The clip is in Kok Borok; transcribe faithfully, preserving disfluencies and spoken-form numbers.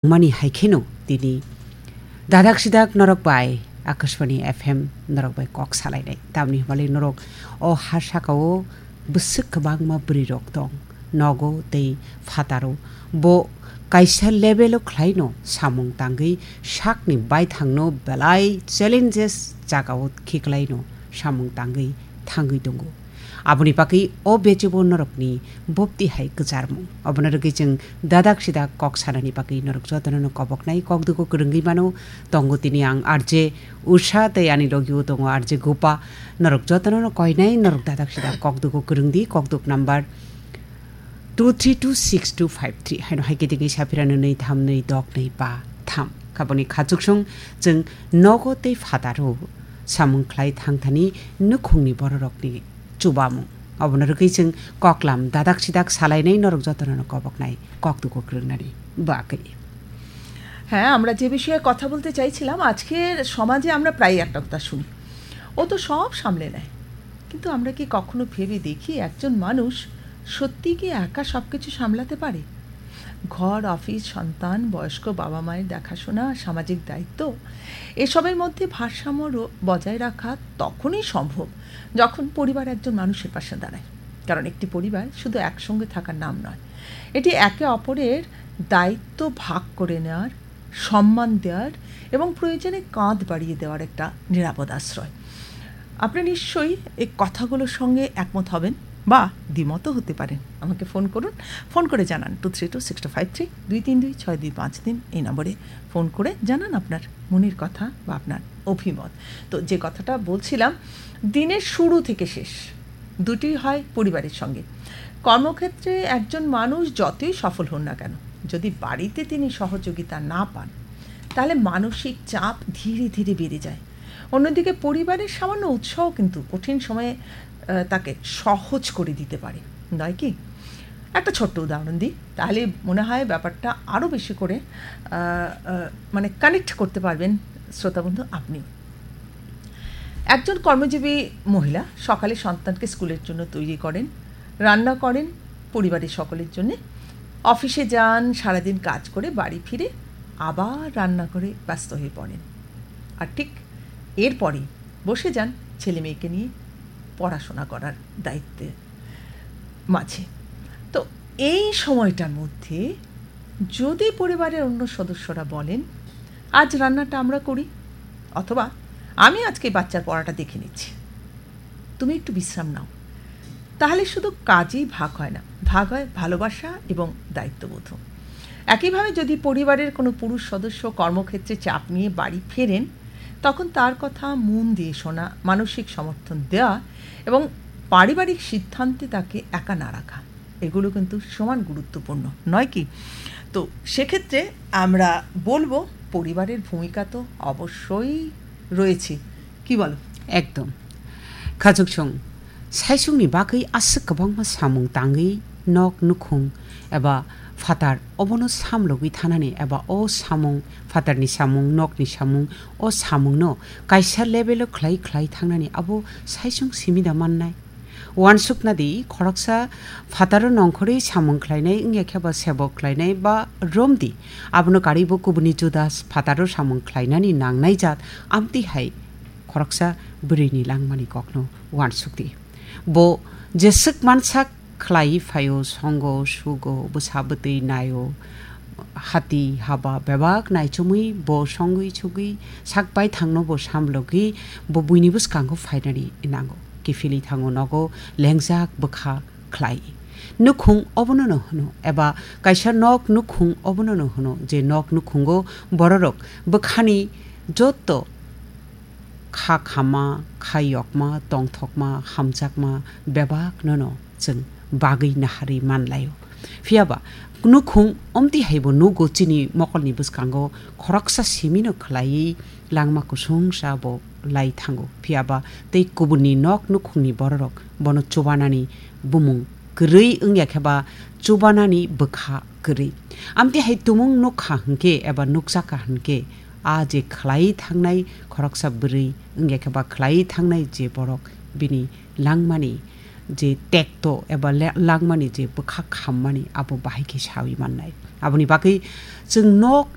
mani hai kheno tini dadak sidak norok bai Akashbani F M norok bai kok salainai. Tamni hwnbalai norok o ha sakao bwswk kwbangma bwrwi rok tong, nogo tei phataro. Bo kaisa level o khlaino samung tangwi sakni baithangno belai challenges jagao khiklaino samung tangwi thangwi tongo. Aboni bagwi o bechebo norokni bopti hai kwcharmung. Obono rwgwi chwng dadak sidak kok sanani bagwi norok jotono no koboknai, kok dugo kwrwngwi mano. Tongo tini ang R J Usha tei ani logio tongo R J Gopa. Norok jotono no koinai, norok dadak sidak kok dugo kwrwngdi, kok duk number two three two six two five three. Haino hai khe tini saphira nwnwi tham nwi dok nwi ba tham. Kaboni khachuksong chwng nogo tei phataro samung khlai thangthani nukhungni bororokni chubamung. Obono rwgwi chwng koklam dadak sidak salainai norok jotono no koboknai kok dugo kwrwngnani bagwi. হ্যাঁ, আমরা যে বিষয়ে কথা বলতে চাইছিলাম, আজকের সমাজে আমরা প্রায়ই একটা কথা শুনি, "ও তো সব সামলে নেয়।" কিন্তু আমরা কি কখনো ভেবে দেখি একজন মানুষ সত্যি কি একা সবকিছু সামলাতে পারে? ঘর, অফিস, সন্তান, বয়স্ক বাবা মায়ের দেখাশোনা, সামাজিক দায়িত্ব, এসবের মধ্যে ভারসাম্য র-, বজায় রাখা তখনই সম্ভব, যখন পরিবার একজন মানুষের পাশে দাঁড়ায়। কারণ একটি পরিবার শুধু একসঙ্গে থাকার নাম নয়, এটি একে অপরের দায়িত্ব ভাগ করে নেওয়ার, সম্মান দেওয়ার এবং প্রয়োজনে কাঁধ বাড়িয়ে দেওয়ার একটা নিরাপদ আশ্রয়। আপনি নিশ্চয়ই এই কথাগুলোর সঙ্গে একমত হবেন বা দ্বিমতও হতে পারেন। আমাকে ফোন করুন, ফোন করে জানান two three two six two five three, দুই তিন দুই ছয় দুই পাঁচ তিন এই নম্বরে ফোন করে জানান আপনার মনের কথা বা আপনার অভিমত। তো যে কথাটা বলছিলাম, দিনের শুরু থেকে শেষ দুটি হয় পরিবারের সঙ্গে। কর্মক্ষেত্রে একজন মানুষ যতই সফল হন না কেন, যদি বাড়িতে তিনি সহযোগিতা না পান, তাহলে মানসিক চাপ ধীরে ধীরে বেড়ে যায়। অন্যদিকে পরিবারের সামান্য উৎসাহ কিন্তু কঠিন সময়ে, আহ, তাকে সহজ করে দিতে পারে, নয় কি? একটা ছোট্ট উদাহরণ দিই, তাহলে মনে হয় ব্যাপারটা আরও বেশি করে, আহ, আহ, মানে, কানেক্ট করতে পারবেন শ্রোতাবন্ধু আপনিও। একজন কর্মজীবী মহিলা সকালে সন্তানকে স্কুলের জন্য তৈরি করেন, রান্না করেন পরিবারের সকলের জন্যে, অফিসে যান, সারাদিন কাজ করে বাড়ি ফিরে আবার রান্না করে ব্যস্ত হয়ে পড়েন। আর ঠিক এরপরেই বসে যান ছেলে মেয়েকে নিয়ে পড়াশোনা করার দায়িত্বে মাঝে। তো এই সময়টার মধ্যে যদি পরিবারের অন্য সদস্যরা বলেন, "আজ রান্নাটা আমরা করি," অথবা, "আমি আজকে বাচ্চার পড়াটা দেখে নিচ্ছি, তুমি একটু বিশ্রাম নাও," তাহলে শুধু কাজেই ভাগ হয় না, ভাগ হয় ভালোবাসা এবং দায়িত্ববোধও। একইভাবে যদি পরিবারের কোনো পুরুষ সদস্য কর্মক্ষেত্রে চাপ নিয়ে বাড়ি ফেরেন, তখন তার কথা মন দিয়ে শোনা, মানসিক সমর্থন দেওয়া এবং পারিবারিক সিদ্ধান্তে তাকে একা না রাখা, এগুলো কিন্তু সমান গুরুত্বপূর্ণ, নয় কি? তো সেক্ষেত্রে আমরা বলবো, পরিবারের ভূমিকা তো অবশ্যই রয়েছে, কি বলো? Ekdom. Khachuksong, saisungni bagwi aswk kwbangma samung tangwi nok nukhung eba phatar obono samlogwi thanani eba o samung, phatarni samung, nokni samung, o samungno kaisa level o khlai khlai thangnani abo saisung simi da mannai? Uansukna di, khoroksa phataro nongkhorwi samung khlainai wngya khe ba sebok khlainai ba romdi, abono karwibo kubuni Judas phataro samung khlainani nangnai jat amtwi hai khoroksa bwrwini langmani kokno uansukdi. Bo jeswk mansak khlaiwi phaio, songo, sugo, bwsa bwtwi naio, hati haba bebak naichomwi bo songwi sugwi sak baithangno bo samlogwi bo buini bwskango phainani nango. Kiphilwi thango nogo lengjak bwkha khlai. Nukhung obono no hwno, eba kaisa nok nukhung obono no hwno, je nok nukhungo bororok bwkhani jotto kha khama, kha yokma, tongthokma, hamjakma bebak nono chwng bagwi naharwi manlaio. Phiyaba nukhung omtwi haibo nugo chini mokolni bwskango khoroksa simino khlaiwi langma kusungsa bo lai thango. Phiyaba tei kubunni nok nukhungni bororok bono chubanani bumung kwrwi wngya khe ba chubanani bwkha kwrwi. Amtwi hai tumung nukha hwnkhe eba nukjakha hwnkhe, a je khlai thangnai khoroksa bwrwi wngya khe ba khlai thangnai je borok bini langmani je tekto eba le-, langmani je bwkha khammani abo bahai khe sawi mannai. Aboni bagwi chwng nok